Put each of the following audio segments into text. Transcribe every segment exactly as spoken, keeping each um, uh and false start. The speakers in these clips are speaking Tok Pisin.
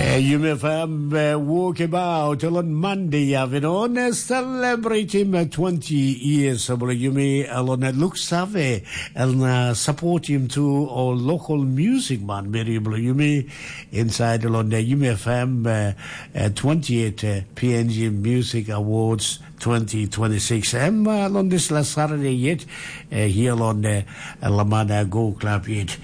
Eh, Yumi F M, eh, wokebaut, elon Monday, avinon, eh, celebrating, eh, twenty years, eh, bula yumi, elon, eh, luk save, el na support him to all local music man, meri bula yumi, inside elon, eh, Yumi F M, eh, eh, twenty-eight, eh, P N G Music Awards, twenty twenty-six. Em, uh, long this last Saturday yet, uh, here on the Lamana Go Club yet.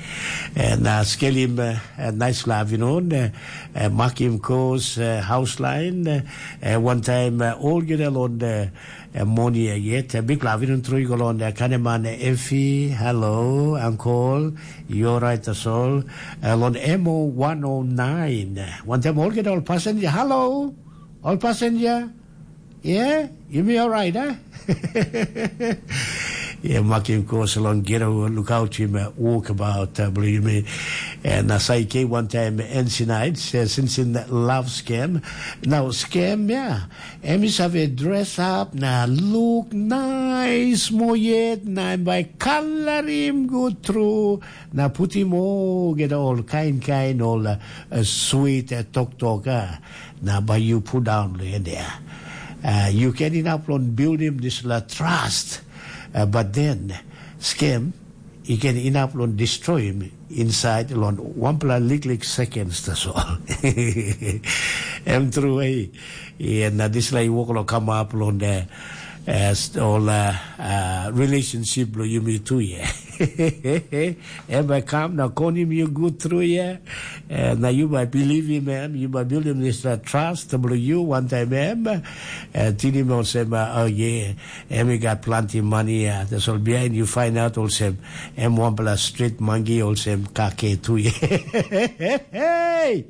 And uh, skelim uh, uh, nice love, you know, uh, uh, Makim Kos, uh, house line, uh, uh, one time uh, all get along the uh, money uh, yet. Uh, big love, you know, through go on the Kaneman Effie, hello, uncle, you're right, that's all. Uh, on M O one oh nine. One time all get all passenger, hello, all passenger. Yeah, you be all right, huh? Yeah, makim kos long get a look out him uh, walk about uh, believe me. And as I came one time N C nights uh, since in love scam. Now scam, yeah. Em is have a dress up, na look nice mo yet, na by color him go through, na put him all get all kind kind all uh, uh, sweet uh, talk talk. Uh, na bai yu pundaun long en ya. Uh, yu ken inap long bildim dispela trust, uh, but then skem i ken inap long destroyim inside long wanpela liklik seconds tasol. Em tru ei. Na dispela i wok long kamap long the uh, all uh, uh, relationship lo yumi tu ye. Em bai kam na konim yu gut tru ye. Na yu bai bilivim em, yu bai bildim dispela trust bilong yu wantaim em. Tinim olsem, oh ye, em i gat planti mani ya. Tasol bihain yu fain aut olsem em wanpela strit mangi olsem kake tu ye. Hey!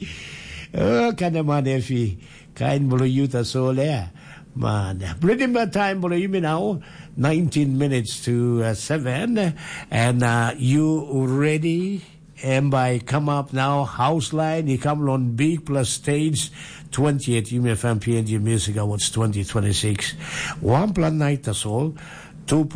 Oh, kaneman efi. Kain bilong yu tasol ya. Man, bringing back time bilong yumi now, nineteen minutes to uh, seven, and uh, you ready? And by come up now, house line, you come on big plus stage, twenty-eight Yumi F M P N G Music Awards twenty twenty-six. One plan night, that's all. Two